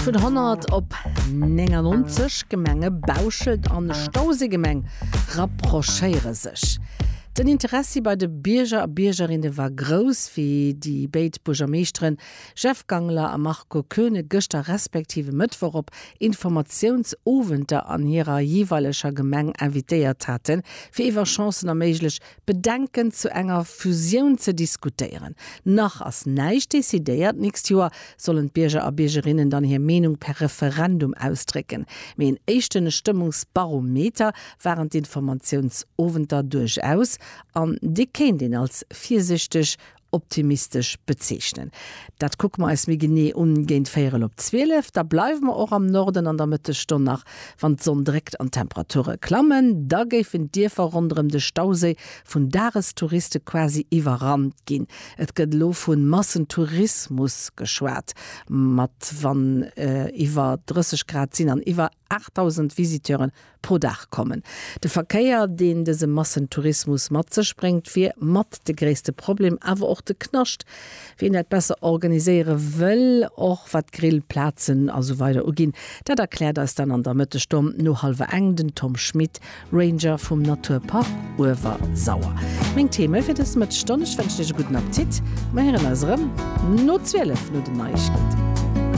Vun 100 op 99 Gemenge Bauschelt an Stauséigemeng rapprochéiere sech. Den Interessi bei de Bierger a Biergerinne war grouss, wéi déi béid Buergermeeschteren Jeff Gangler a Marco Koeune gëschter respektiv e Mëttwoch op Informatiounsowenter an hirer jeeweileger Gemeng invitéiert haten, fir iwwer Chancen a méiglech Bedenken zu enger Fusioun ze diskutéieren. Nach ass näischt decidéiert, d'nächst Joer sollen d'Bierger a Biergerinnen dann hir Meenung per Referendum ausdrécken. Mee en éischte Stëmmungsbarometer waren d'Informatiounsowenter duerchaus, an dee kéint een als virsichteg optimistesch bezeechnen. Dat kucke mer eis méi genee un géint véierel op 12. Da bleiwe mer och am Norden an der Mëttesstonn nach, wann d'Sonn dréckt an d'Temperature klammen. Da géifen d'Dierfer ronderëm de Stauséi vun Dagestouriste quasi iwwerrannt ginn. Et gëtt elo vu Massentourismus geschwat, mat wann iwwer 30 Grad sinn an iwwer 8.000 Visiteuren pro Dag kommen. De Verkéier, deen dëse Massentourismus mat sech bréngt, wier mat de gréisste Problem, awer och de Knascht. Wien dat besser organiséiere wëll, och wat Grillplazen a sou weider uginn, dat erkläert eis dann an der Mëttesstonn no hallwer eng den Tom Schmit, Ranger vum Naturpark Uewersauer. Meng Theme fir dës Mëttesstonn, ech wënschen iech e gudden Appetit, mer héieren eis erëm no 12 no den Neiegkeeten.